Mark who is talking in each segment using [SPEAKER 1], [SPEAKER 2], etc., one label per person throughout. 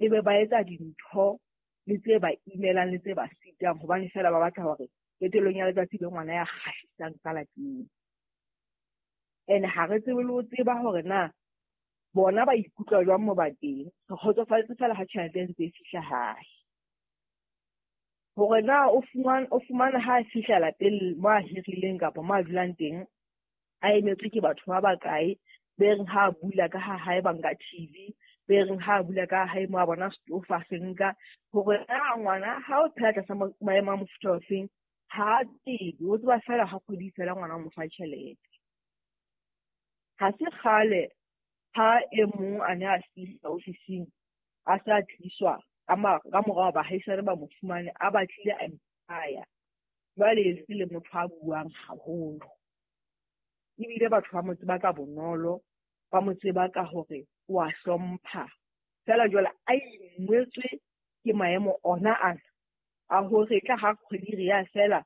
[SPEAKER 1] Ebe ba etsa dintho le tse ba imelang le tse ba sitang hobane feela ba batla hore qetellong ya letsatsi be ngwana ya kgahlisang ka lapeng. Ene ha re tsebe le ho tseba hore na bona ba ikutlwa jwang mo ba teng. Re kgotsofalletse feela ha tjhelete e ntse e fihla hae. Hore na o fumana ha a fihla lapeng mo a hirileng kapa mo a dulang teng, a emetswe ke batho ba bakae, be reng ha a bula ka ha hae ba nka TV, be reng ha a bula ka hae mo a bona setofo a se nka. Hore na ngwana ha o phela tlasa maemo a mofuta ofeng, ha a tsebe, o tseba feela ha kgwedi e fela ngwana o mo fa tjhelete. Ha se kgale ha e mong a ne a fihla ofising a se a tliswa ka morao baahisane ba mo fumane a batlile a ipolaya. Jwale e se le motho a buang haholo. Ebile batho ba mo tseba ka bonolo, ba mo tseba ka hore o a hlompha. Feela jwale a ingwetswe ke maemo ona ana a hore tla ha kgwedi re ya fela,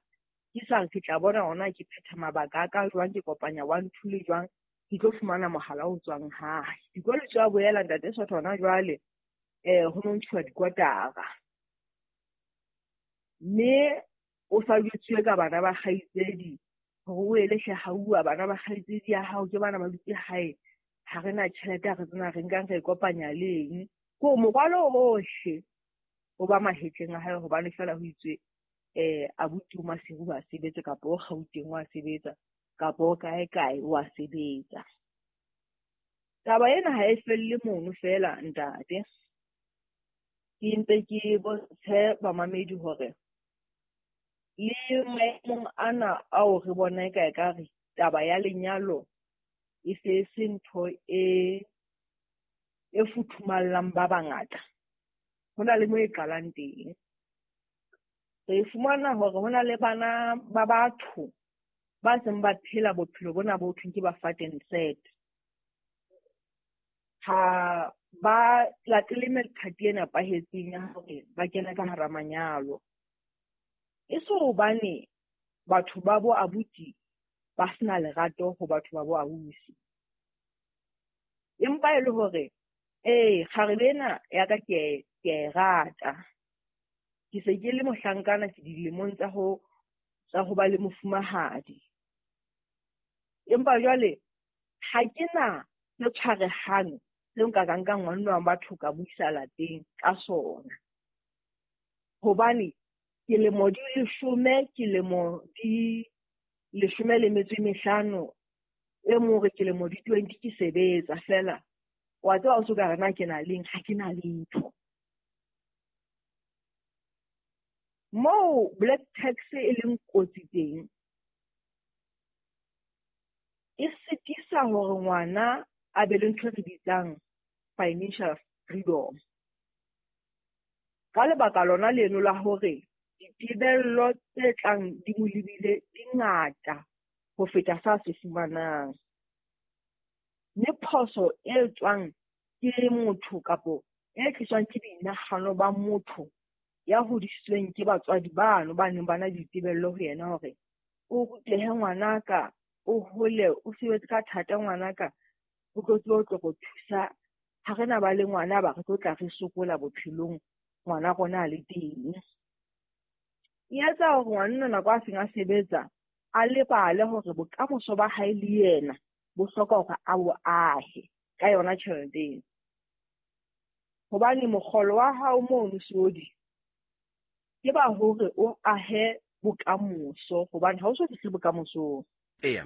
[SPEAKER 1] ke sa re ke tla bona hona ke phetha mabaka a ka jwang, ke kopanya 1 2 le jwang, ke tlo fumana mohala o tswang hae. Dikolo di a boela ntate Sotho hona jwale, ho no ntshuwa dikwatara. Mme o sa jwetsuwe ka bana ba kgaitsedi hore o ele hle hauwa bana ba kgaitsedi ya hao ke bana ba dutse hae, ha re na tjhelete, ha re tsena re nkang re e kopanya le eng. Ke hore morwalo ohle o ba mahetleng a hae hobane feela ho itswe abuti o Maseru wa sebetsa kapa o Gauteng wa sebetsa kapa o kae kae wa sebetsa. Taba ena ha e felle mono feela ntate. Ke mpe ke bontshe bamamedi hore le maemong ana ao re bona eka ekare taba ya lenyalo e se se ntho e futhumallang ba bangata. Ho na le mo e qalang teng. Re fumana hore ho na le bana ba batho ba seng ba phela bophelo bona bo thweng ke ba fat and sad. Ha ba latele methati e nepahetseng ya hore ba kene ka hara manyalo. E se hobane batho ba bo abuti ba sena lerato ho batho ba bo ausi. Empa e le hore kgarebe ena ya ka ke e rata. Ke se ke le mohlankana, ke dilemong tsa ho ba le mofumahadi. Empa jwale ha ke na se tshwarehang seo nka ka nkang ngwanenwa wa batho ka mo isa lapeng ka sona. Hobane ke lemo di 10, ke lemo di 15, e mong re ke lemo di 20 ke sebetsa feela. Wa tseba o so ka re na ke na leng, ha ke na letho. Moo black tax e leng kotsi teng, e sitisa hore ngwana a be le ntho e re bitsang financial freedom. Ka lebaka lona leno la hore ditebello tse tlang di mo lebile di ngata ho feta sa se fumanang. Mme phoso e tswang ke motho kapo e tliswang ke boinahano ba motho ya hodisitsweng ke batswadi bano ba neng ba na le ditebello ho yena hore o rutehe ngwanaka, o hole, o sebetse ka thata ngwanaka, o tlo tsebe ho tlo re thusa. Ha re na ba le ngwana ba re tlo tla re sokola bophelong, ngwana rona a le teng. E etsa hore ngwanenwa nako a seng a sebetsa a lebale hore bokamoso ba hae le yena bo hloka hore a bo ahe ka yona tjhelete eno. Hobane mokgolo wa hao mono Seodi ke ba hore o ahe bokamoso, hobane ha o so fihle bokamosong.
[SPEAKER 2] Eya.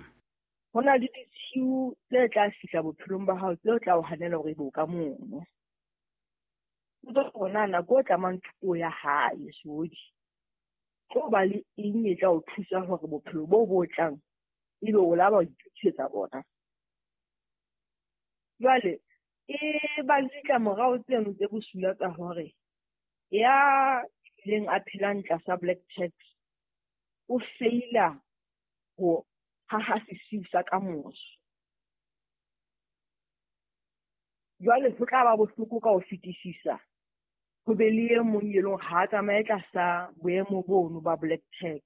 [SPEAKER 1] Ho na le ditshiu tse tla fihla bophelong ba hao tseo tla o hanela hore ebe o ka mono. Potso ke hore na nako o tlamang thuto ya hae Seodi, tlo ba le eng e tla o thusa hore bophelo bo bo tlang ebe o la ba o itokisetsa bona. Jwale e ba le ditlamorao tseno tse bosula tsa hore ya ileng a phelang tlasa black tax o feila ho haha sesiu sa kamoso. Jwale ho tla ba bohloko ka ho fetisisa ho be le e mong e leng ha a tsamaye tlasa boemo bono ba black tax,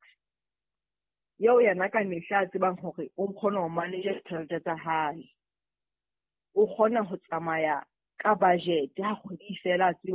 [SPEAKER 1] eo yena ka mehla a tsebang hore o kgona ho manage ditjhelete tsa hae, o kgona ho tsamaya ka budget ha kgwedi e fela a tsebe